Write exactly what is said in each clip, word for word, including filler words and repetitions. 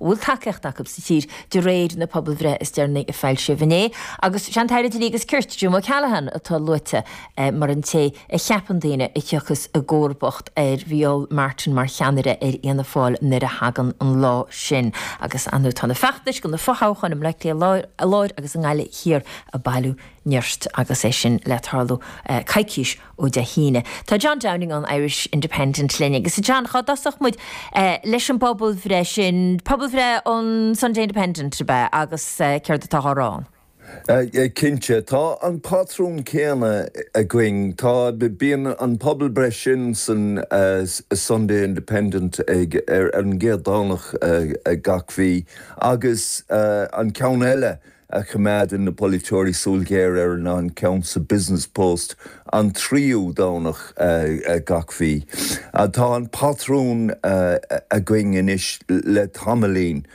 bhfuil tacaíocht acu sa tír de réir na pobalbhreithe is deireanaí a foilsíodh inné. Agus sé an tAire Dlí agus Cirt Jim O'Callaghan atá luaite eh, mar an té a cheapann daoine a thiocfas i gcomharbacht ar Mhicheál Martin mar cheannaire ar Fhianna Fáil nuair a thagann an lá sin. Agus anú tá na feachtais do na fothoghcháin i mBaile Átha Cliath Láir agus i nGaillimh Thiar ag bailiú nirt agus é sin le tarlú uh, coicís ó Dé hAoine. Tá John Downing an Irish Independent linn agus John cá dtosódh muid uh, leis an bpobalbhreith sin pobalbhreith an Sunday Independent be agus uh, céard atá á rá. Cinnte tá an patrún céanna againn tá bíonn an pobalbhreith sin san uh, Sunday Independent ag ar an gcéad Domhnach uh, gach mí agus uh, an ceann eile a choimeádann na polaiteoirí súil ghéar ar ná an ceann sa Business Post an tríú Domhnach uh, uh, gach mí. Uh, tá an patrún uh, againn anois le tamaillín.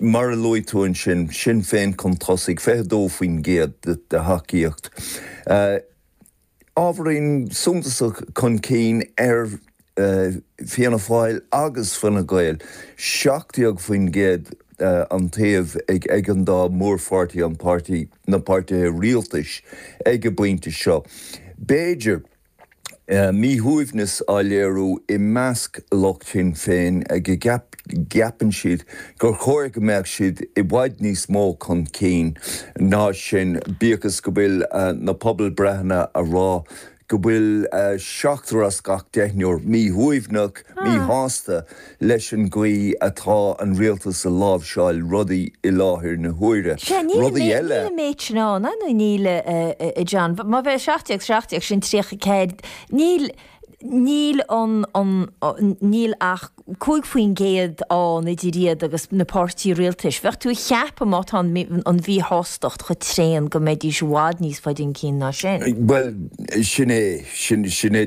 Mar a luaigh tú ansin Sinn Féin chun tosaigh fiche dó faoin gcéad de thacaíocht. Uh, ábhairín suntasach chun cinn ar uh, Fianna Fáil agus Fine Gael, seacht déag faoin gcéad uh, an taobh ag ag an dá mhórpháirtí an páirtí na páirtithe rialtais ag an bpointe seo. B'fhéidir uh, míshuaimhneas á léiriú i measc lucht Shinn Féin ag go gceapann siad gur chóir go mbeadh siad i bhfad níos mó chun cinn ná sin bíodh is go bhfuil uh, na pobalbhreitheanna ag rá go bhfuil uh, seachtar as gach deichniúr míshuaimhneach ah. míshásta leis an gcaoi atá an rialtas ag láimhseáil rudaí i láthair na huaire. Rudaí eile méid ná nó níl John, má bheith seacht seacht sin tríocha ceathair níl níl an an níl ach cúig faoin gcéad ann idir iad agus na páirtí rialtais. Bheadh tú ag ceapadh má tá an mhíshástacht chomh tréan go mbeidís i bhfad níos faide chun cinn ná sin. Well sin é sin sin é